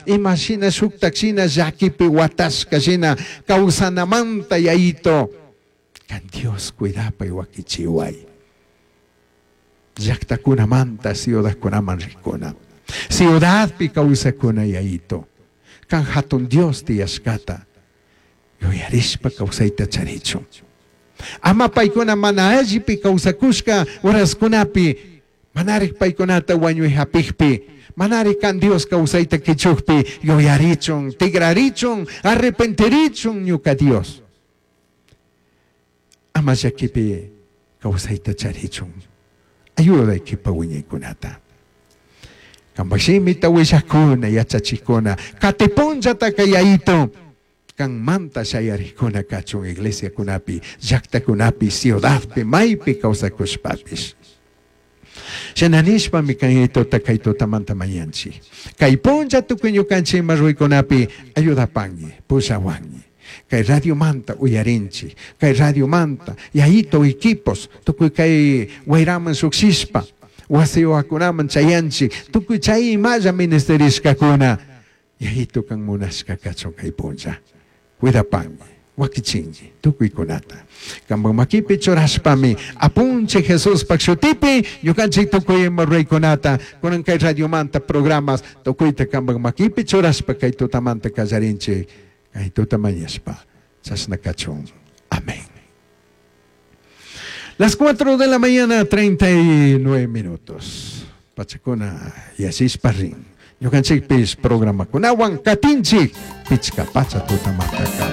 Ima shina shuktak shina llakipi watashka shina kawsanamanta, Yayito. Kan Dios cuidapay, wakichiway. Llaktakunamanta ciudadkunaman rikuna. Ciudadpi kawsakuna, Yayito. Kan hatun Dios tiyashkata yuyarishpa kawsayta charichun. Ama paykuna mana allipi kawsakushka horaskunapi manarik paykunata wañuy hapikpi, manarik kan Dios kawsayta kichukpi yuyarichun, tigrarichun, arrepentirichun, ñuka Dios. Ama llakipi kawsayta charichun. Ayuda kipa wiñaykunata. Kampak shimita willakuna, yachachikuna, katipunllataka, Yayito, kanmanta shayarikuna kachun iglesiakunapi, llaktakunapi, ciudadpi, maypi kawsakushpapish. Shina nishpami kan Yayitota kay tutamanta mañanchik. Kay punlla tukuy ñukanchik ima ruraykunapi ayudapanki, pushawanki. Kay radiomanta uyarinchik, kay radiomanta, Yayito, equipos, tukuy kay wayraman shukshishpa, wasiwakunaman chayanchik, tukuy chay imalla ministerishkakuna, Yayito, kan munashka kachun kay punlla. Cuidapanki, wakichinki tukuykunata. Kampak makipi churashpami apunchik Jesuspak shutipi ñukanchik tukuy ima ruraykunata kunan kay radiomanta programas tukuyta kampak makipi churashpa kay tutamanta kallarinchik, kay tuta mañashpa chashna kachun. Amén. Las 4 de la mañana, 39 minutos. Pachakuna yashishpa rin. Ñukanchikpish programakunawan katinchik pichka pacha tutamantaka.